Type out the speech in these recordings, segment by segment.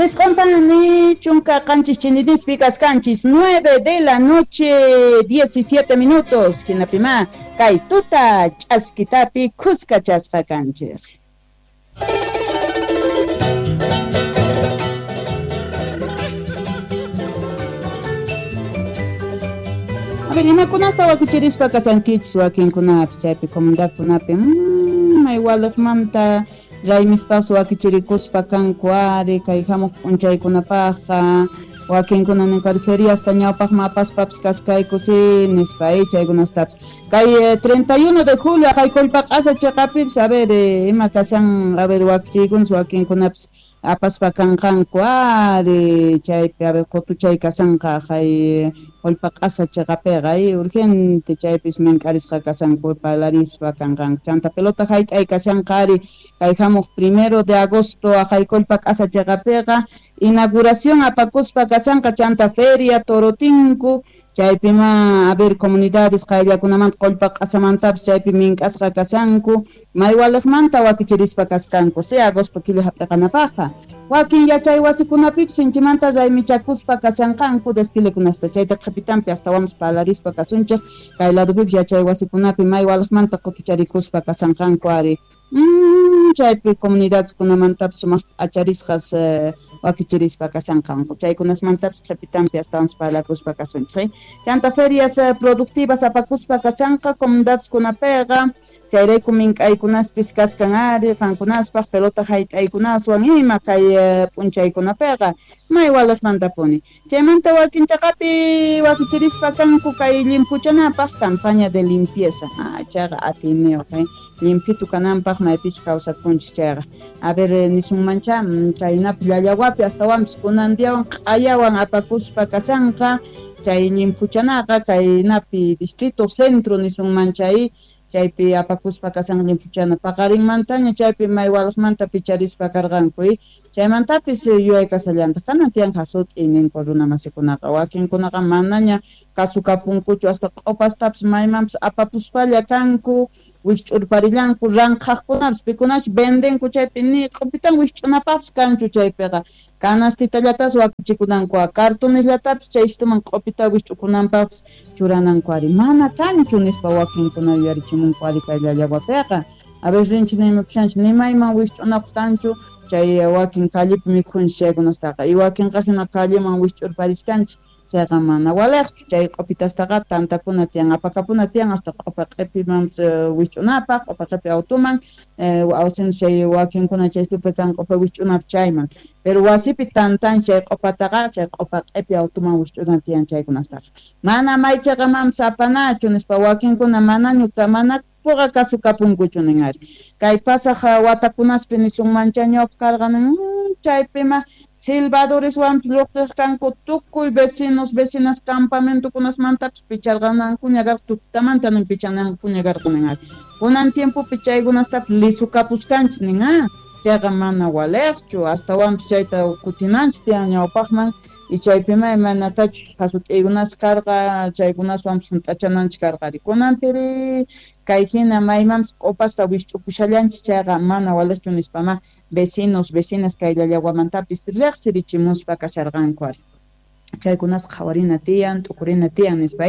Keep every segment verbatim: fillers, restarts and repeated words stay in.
Jisq'unpani chunka qanchis chinidispi kaskanchis nueve de la noche diecisiete minutos hinapima kay tuta ch'askitapi khuskachasqa kanchik. A ver, imakunasta wakichirispa kasankichis wakinkunapis chaypi comunidadkunapi mmm, may waliqmanta raymispas wakichirikuspa kanku ari kay hamuq p'unchaykunapaqqa wakinkuna ninqari feriasta ñawpaqman apaspapis kaskayku si nispa chaykunastapis kay treinta y uno de julio kay Qollpaq'asa chiqapipis a ver ima kasan a ver wakichiykunas wakinkunapis apaspa kanqanku ari chaypi a ver qutuchay kasanqa kay Qollpaq'asa chiqapiqa urgente chaypis mink'arisqa kasanku parlarispa kanqanku chanta pelota hayt'ay kashanqa ari kay hamuq primero de agosto kay Qollpaq'asa chiqapiqa inauguración apakuspa kasanqa chanta feria Torotinku chaypima a ver comunidades qayllakunamanta Qollpaq'asamantapis chaypi mink'asqa kasanku may waliqmanta wakichirispa kasqanku si agosto killa hap'iqanapaqqa wakin yachay wasikunapipis sinchimanta raymichakuspa kasanqanku desfilekunasta chayta qhipitanpi astawanpas parlarispa kasunchik kay ladupipis yachay wasikunapi may waliqmanta qutucharikuspa kasanqanku ari Mm, chaypi comunidadeskunamantapis sumaq p'acharisqas eh, wakichirispa kashanqanku chaykunasmantapis qhipitanpi astawanpas parlakuspa kasunchik chanta ferias eh, productivas apakuspa kashanqa comunidadeskunapiqa chayrayku mink'aykunaspis kaskan ari qankunaspaq pelota hayt'aykunaswan ima kay eh, p'unchaykunapiqa may waliqmantapuni chaymanta wakin chaqapi wakichirispa kanku kay limpuchanapaq campaña de limpieza ah, chayqa atiyniyuq eh? Limpitu kananpaq maypichu kawsakunchis chayqa a ver nisunmancha chaynapi llallawapi astawanpis kunan diawan q'ayawan apakuspa kasanqa chay limpuchanaqa kaynapi distrito centro nisunman chay chaypi apakuspa kasan limpuchana paqarinmantaña chaypi may waliqmanta picharispa karqanku chaymantapis yuyay kasallantaq kanan tiyan hasut'i ninku runa masikunaqa wakinkunaqa manaña kasukapunkuchu hasta q'upastapis maymanpis apapuspalla kanku wikch'urparillanku ranqhaqkunapis pikunachu vendenku chaypi ni q'upitan wikch'unapaqpis kanchu chaypiqa canastitallatas wakichikunanku cartonesllatapis chay istuman q'upita wikch'ukunanpaqpis churananku ari mana kanchu nispa wakinkuna yuyarichimunku ari kay llallawapiqa a ver rinchik nimakushanchik nimayman wikch'unapaq kanchu chay wakin callepi mikhunchik chaykunastaqa y wakinqa hina calleman wikch'urpariskanchik chayqa mana waliqchu chay q'upitastaqa tantakuna tiyan apakapuna tiyan hasta q'upa q'ipiman wikch'unapaq q'upa q'ipi autuman awsin chay wakinkuna chay tupi kan q'upa wikch'unapaq chayman pero wasipi tantan chay q'upataqa chay q'upa q'ipi autuman wikch'una tiyan chaykunastaqa mana maychaqamanpis apanachu nispa wakinkuna manañu mana puqa kasukapunkuchu nin ari kay pasaq watakunaspi nisunmancha ñawpaq karqa nin chaypima silbadoreswanpis lluqsiq kanku tukuy vecinos vecinas campamentokunasmantapis picharqanankuña karqa tutamanta nin pichanankuña karqa nin ari kunan tiempopi chaykunastapis lisukapuskanchis nin ah chayqa mana waliqchu astawanpis chayta kutinanchis tiyan ñawpaqman y chaypima imaynatachus hasut'iykunas karqa chaykunaswanpis hunt'achananchik karqa ari kunanpiri kay hina maymanpis q'upasta wikch'upushallanchik chayqa mana waliqchu nispama vecinos vecinas kay llallawamantapis riqsirichimuspa kasharqanku ari chaykunas qhawarina tiyan t'ukurina tiyan nispa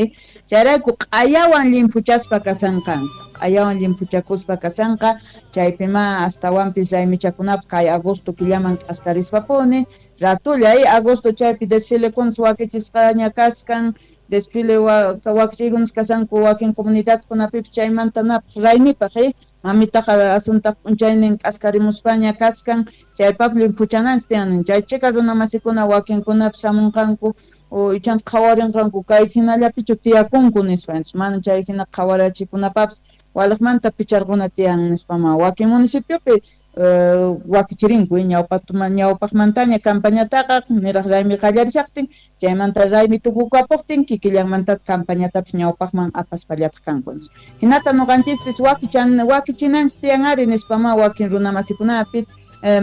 chayrayku q'ayawan limpuchaspa kasanqanku q'ayawan limpuchakuspa kasanqa chaypima astawanpis raymichakunapaq kay agosto killaman k'askarispapuni ratulla agosto chaypi desfilekunas wakichisqaña kaskan desfile wakichiykunas kasanku wakin comunidadkunapipis chaymanta napaq raymipaq mamitaqa asuntaq p'unchaynin k'askarimuspaña kaskan chaypaq limpuchananchis tiyan chay chika runa masikuna wakinkunapis hamunqanku ichanta qhawarinqanku kay hinallapichu tiyakunku nispa mana chay hina qhawarachikunapapis waliqmanta picharquna tiyan nispama wakin municipiopi wakichirinku ñawpaqman ñawpaqmantaña campañataqa niraq raymi qallarishaqtin chaymanta raymi tukukapuqtin kikillanmanta campañatapis ñawpaqman apaspallataq kanku hinata ñuqanchispis wakichan wakichinanchis tiyan ari nispama wakin runa masikunapis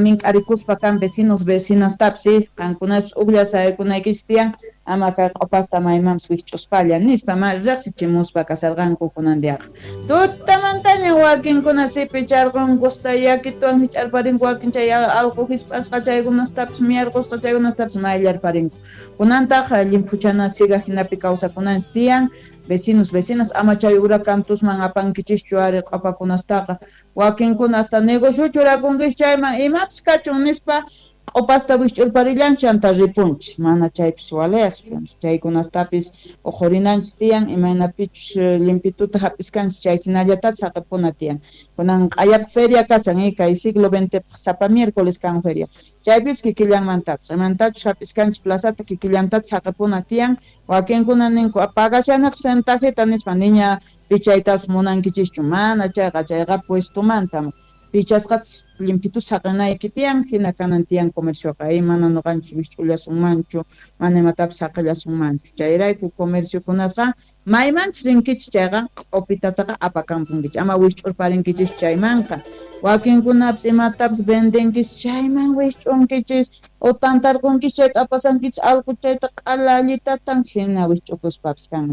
mink'arikuspa kan vecinos vecinastapis qankunapis uqlla saykunaykichis tiyan Ama kay q'upasta maymanpis wikch'uspalla nispa ma riqsichimuspa kasarqanku kunan diaqa. Tutamantaña wakinkuna sipicharqunkusta yakituwan hich'arparinku wakin chay allqu hisp'asqa chaykunastapis miyarqusqa chaykunastapis mayllarparinku. Kunantaq llimphuchana siga hinapi kawsakunanchis tiyan. Vecinos, vecinas, ama chay huracantusman apankichischu ari q'upakunastaqa. Wakinkuna hasta negocio churakunkichis chayman imapis kachun nispa q'upasta wikch'urparillanchis chanta ripunchis. Mana chaypis waliqchu. Chaykunastapis uqhurinanchis tiyan imaynapichus limpituta hap'iskanchis chay hinallatachis saqipuna tiyan. Kunan q'ayapaq feria kashan eh, kay siglo veintepaq sapa miércoles kan feria. Chaypipis kikillanmantataq. Imantachus hap'iskanchis plazata kikillantataq saqipuna tiyan. Wakinkuna ninku pagashaniq centajita nispa niña pichaytapas munankichischu. Mana chayqa chayqa puestomanta. Pichasqatas limpitus saqinayki tiyan hina kanan tiyan comercioqa eh, mana nuqanchis wikch'ullasunmanchu mana imatapis saqillasunmanchu. Chayrayku comerciokunasqa maymanchis rinkichis chayqa q'upitataqa apakampunkichis ama wikch'urparinkichischu chaymanqa. Wakinkunapis imatapis vendenkichis chayman wikch'unkichis o tantarqunkichis chayta apasankichis allqu chayta q'ala allitatan hina wikch'ukuspapis kan.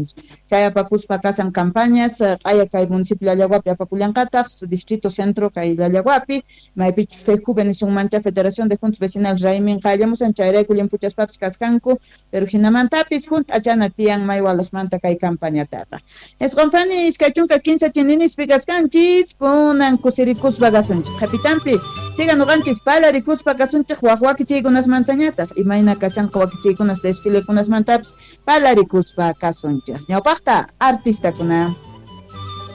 Chay apakuspa kasan campañas q'aya kay municipio Llallaguapi apakullanqataq distrito centro kay Llallaguapi maypichus FEJUVE nisunmancha Federación de Juntas Vecinales raymin qallamusan chayrayku limpuchaspapis kaskanku pero hinamantapis hunt'achana tiyan may waliqmanta kay campañataqa. Isqunpani iskay chunka kinsa chininispi kaskanchis kunan kusirikuspa kasunchis qhapitanpi siga nuqanchis palarikuspa kasunchik waq wakichiykunasmantañataq imayna kashanqa wakichiykunas desfilekunasmantapis palarikuspa kasunchik. Ñawpaqta artistakuna.